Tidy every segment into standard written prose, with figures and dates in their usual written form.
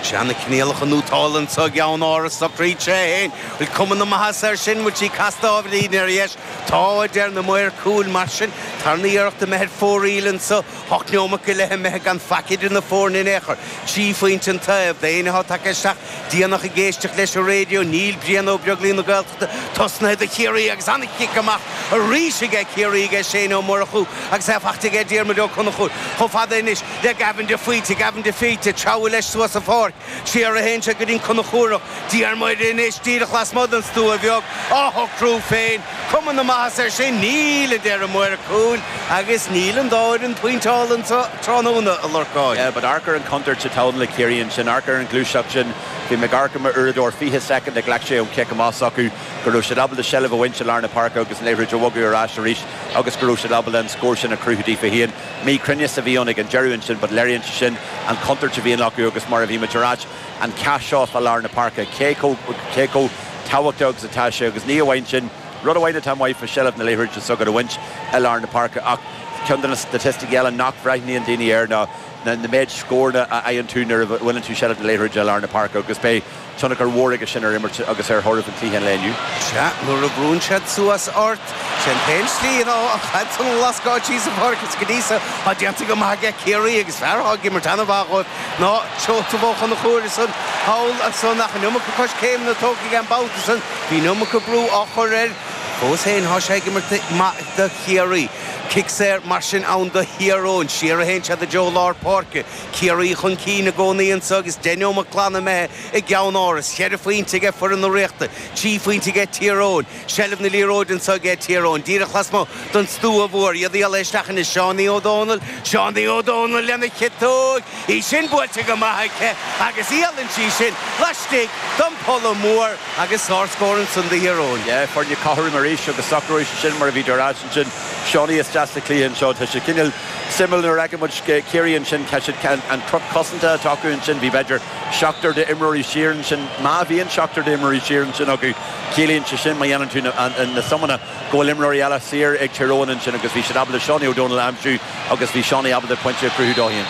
Sea, na coinníollacha nótálta anso i gCeann Áras, socraíonn sé é féin. Bhfuil cuma na maitheasa air sin? Bhfuil sí casta ábhairín ar dheis? Tá, a deir na maoir cúil. Mar sin, tarna iarracht imithe ar fóraoil anso, hocht neomat go leith imithe gan faic idir na foirne in aon chor. 3 phointe an taobh. D'éinne atá tagtha isteach déanach ag éisteacht leis an raidió, níl Brian Ó Beaglaoich na Gaeltachta tosnaithe do Chiarraí agus an-chic amach arís aige Ciarraí aige Shane Ó Murchú agus é faighte aige Diarmuid Ó Conchúir chomh fada anois le Gavin de Faoite, Gavin de Faoite ag treabhadh leis suas an pháirc. Siar a théann sé go dtí an Conchúrach. Diarmuid anois díreach lasmuigh den stua bheag á shocrú féin. Cuma na maitheasa air sin? Níl, a deir an maor cúil, agus níl an dá fhoireann pointeáilte anso tráthnóna, a Lorcáin. Yeah, but amharc ar an chontúirt atá ann le Ciarraí ansin, amharc ar an ghluaiseacht sin. Bhí mé ag amharc ar m'uaireadóir, 20 soicind a ghlac sé ón chic amach s'acu go raibh siad ábalta seilbh a bhaint i lár na páirce agus an liathróid a bhogadh ar ais arís agus go raibh siad ábalta an scór sin a chruthú daofa féin. Míchruinneas a bhí ann ag an deireadh ansin but léiríonn sé sin an chontúirt a bhíonn acu agus mar a bhí muid ag ráit, an cath seo fá lár na páirce, cé chomh, cé chomh tábhachtach agus atá sé agus ní amháin sin, rud amháin atá maith fá seilbh na liathróide s'agat a bhaint i lár na páirce ach ceann de na staitisticí eile nach bhreathnaíonn daoine air ná na méid scóranna a fhaigheann tú nuair a bhaineann tú seilbh na liathróide i lár na páirce agus beidh tionchar mhór aige sin ar imirt agus ar thoradh an chluiche an lae inniu. Sea, nuair a bhrúnn siad suas ort, sé an t-aon slí ná an chaid san a lascáil síos an pháirc is go dtí so tá déanta go maith aige Ciarraí agus fear atá ag imirt an-mhaith dhóibh ná Seosamh Ó Conchúir ansan thall ansan ach an iomarca coiscéimeanna tógtha aige an babhta san, bhí an iomarca brú á chur air. Fós féin tá sé ag imirt maith do Chiarraí. Cic saor mar sin ann do Thír Eoghain. Siar a théann siad i dtreo lár páirce. Ciarraí chun cinn i gcónaí anso agus 10 neomat glan imithe i gCeann Áras. Cheithre phointe aige foireann na Ríochta, 3 phointe aige Tír Eoghain. Seilbh na liathróide anso aige Tír Eoghain. Díreach lasmuigh den stua mhór. Iad a iarraidh isteach anois. Seánie Ó Dónaill. Seánie Ó Dónaill lena chiotóg. Í sin buailte go maith aici agus éalaíonn sí sin laistigh den pholla mór agus sárscór ansan do Thír Eoghain. Yeah, foirne cothrom arís agus socróidh sé sin mar a bhí tú ag ráit ansin. Seánie isteach sa chluiche anseo. Tá sé cineál suimiúil nuair a fheiceann muid Ciarraí ansin, tá siad an cruth cosanta atá acu ansin, bhí b'fhéidir seachtar d'imreoirí siar ansin. Má bhíonn seachtar d'imreoirí siar ansin acu, ciallaíonn sé sin má dhéanann tú na suimeanna go bhfuil imreoirí eile saor ag Tír Eoghain ansin agus bhí siad ábalta Seánie O'Donnell a aimsiú agus bhí Seánie ábalta pointe a chruthú dó féin.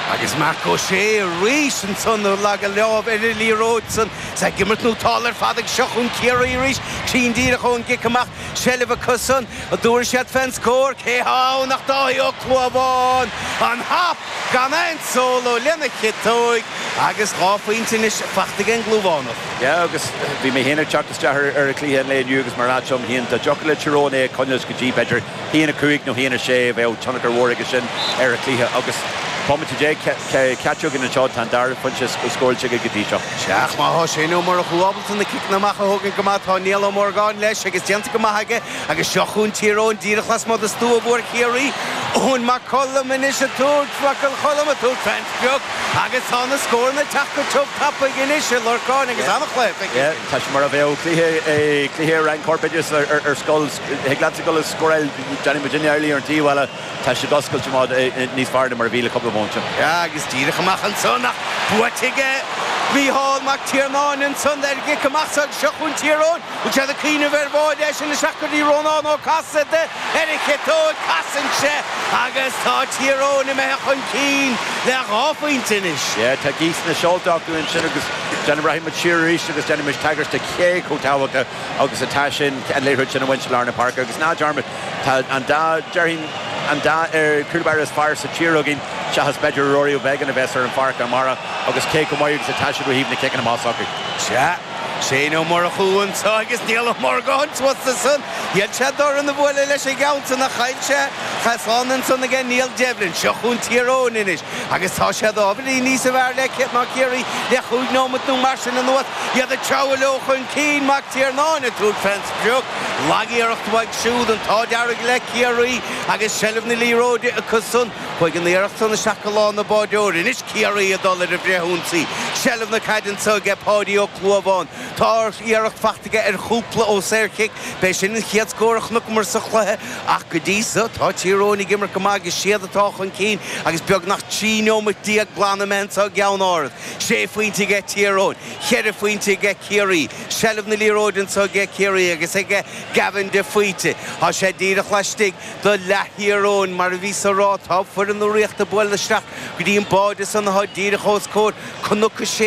Agus Marc Ó Sé arís ansan ag leagadh lámh ar an liathróid san. Is ag imirt nótálta ar fad ag seo chugainn Ciarraí arís. Cruinn díreach ón gcic amach. Seilbh acu san. An dtabharfaidh siad fén scór? Cé thá ann ach Dáithí Ó Clúmháin! An hap gan aon solo lena chiotóig agus 2 phointe anois faighte ag an gClúmhánach. Yeah agus bhí mé féin ag teacht isteach ar an chluiche an lae inniu agus mar a dúirt liom féin dá dtiocfadh le Tír Eoghain é a choinneáil go dtí b'fhéidir 1-5 nó 1-6 bheadh tionchar mhór aige sin ar an chluiche agus bomaite caite againn anseo tá an dara pointe scóráilte aige go dtí seo. Sea, ach má thá Shane Ó Murchú ábalta na ciceanna amach a thógaint go maith tá Niall Ó Morgáin leis agus déanta go maith aige agus seo chugainn Tír Eoghain díreach lasmuigh de stua mhór Chiarraí. Eoin Mac Coluim anois ag tabhairt, Mac an Choluim ag tabhairt fén sprioc agus tá na scóranna ag teacht go tiubh tapaidh anois a Lorcáin agus an-chluiche feicthe Yeah, tá sé mar a bheadh cluiche, cluiche i Roinn Corpoideachais ar, ar scoil. Thig leatsa dul ag scóráil, déanfaidh muidinne amhlaidh ar an taobh eile. Tá siad oscailte amach níos fearr ná mar a bhí le cúpla bomaite. Yeah, agus díreach amach ansan ach buaite aige Mícheál Mac Tiarnáin ansan ar an gcic amach so agus seo chugainn Tír Eoghain. Bhfuil siad ag cuimhneamh ar bháide é sin isteach go dtí Rónán Ó Casaide ar a chiotóig. Casann sé agus tá Tír Eoghain imithe chun cinn le 2 phointe anois. Yeah, tá gaoth sna seolta acu ansin agus déanfaidh, rachaidh muid siar arís agus déanfaidh muid tagairt do cé chomh tábhachtach agus atá sin, an liathróid sin a bhaint i lár na páirce agus ná dearmad, Tá an dá, déarfainn, an dá cúl báire is fearr sa tír againn, seachas b'fhéidir Ruairí Ó Beagáin a bheas ar an pháirc amárach agus cé chomh maith agus atá siad ó thaobh na ciceanna amach s'acu. Sea, Shane Ó Murchú anseo agus Niall Ó Morgáin suas ansan. Dheill sé dorn a bhualadh leis an gceann san ach chaill sé. Slán ansan aige Niall Devlin. Seo chugainn Tír Eoghain anois agus tá siad ábhairín níosa bhfearr le ná Ciarraí le chúig nóimeat nó mar sin anuas. Iad ag treabhadh leo chun cinn, Mac Tiarnáin ag tabhairt fén sprioc. Lag-iarracht uaidh siúd, an t-ádh dearg le Ciarraí agus seilbh na liathróide acu san. Chuaigh an iarracht san isteach go lámh na báireoirí. Anois Ciarraí ag dul ar an bhfrithionsaí. Seilbh na caide anso aige Páidí Ó Clúmháin. Tá iarracht faighte aige ar chúpla ó saorchic. B'é sin an chéad scór a chonaiceamar sa chluiche ach go dtí so tá Tír Eoghain ag imirt go maith agus siad atá chun cinn agus beagnach 13 neomat glan imithe anso i gCeann Áras. Sé phointe aige Tír Eoghain, cheithre phointe aige Ciarraí. Seilbh na liathróide anso aige Ciarraí agus aige Gavin de Faoite. Tá sé díreach laistigh de leath Thír Eoghain. Mar a bhíos á rá, tá foireann na Ríochta ag bualadh isteach go dtí an báide san atá díreach os comhair Cnoc 6.